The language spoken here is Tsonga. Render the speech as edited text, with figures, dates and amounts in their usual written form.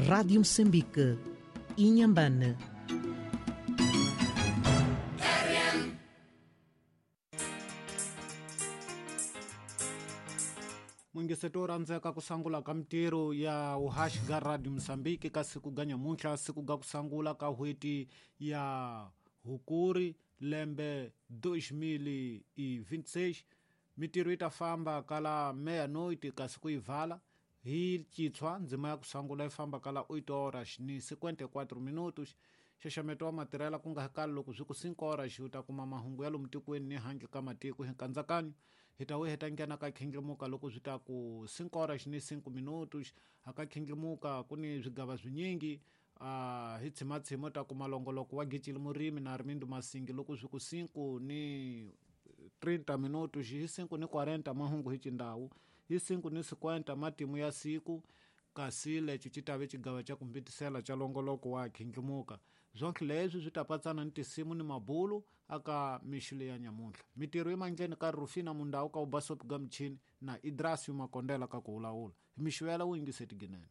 Rádio Moçambique, Inhambane. Mungiseto wo rhandzeka ku sangula ka mintirho ya vuhaxi bya Radio Mozambique ka siku ga nyamuntlha, siku ga ku sangula ka n'hweti ya Hukuri lembe 2026. Mintirho yi ta famba kala meia-noite kasi ku yi vala hi citshwa ndzima ya ku sangula yi famba kala 8 horas ni 54 minutos. Nxaxameto wa matirhela ku nga kali loko swi ku 5 horas u ta kuma mahungu ya lomu tikweni ni handle ka matiko hi nkandzakanyo. Hi ta vuya hi ta nghena ka khindlimuka loko swi ta ku 5 horas ni 5 minutos. A ka khindlimuka ku ni swigava swinyingi a hi tshimatshima u ta kuma longoloko wa Gicili Murimi na Armindo Masingi loko swi ku 5 ni 30 minutos, hi 5 ni 40 mahungu hi xindhawu, hi 5 ni 50 matimu ya siku, kasi lexi xi ta ve xigava xa ku mbitisela xa longoloko wa khindlimuka. Swonke leswi swi ta patsana ni tinsimu ni mabulu aka mixo leya nyamuntlha. Mintirho yi mandleni ka Rufina Mundau ka Ubasopi ga Michini na Idrasio Makondela ka ku vulavula. Hi mixo yela wu yingiseti ginene.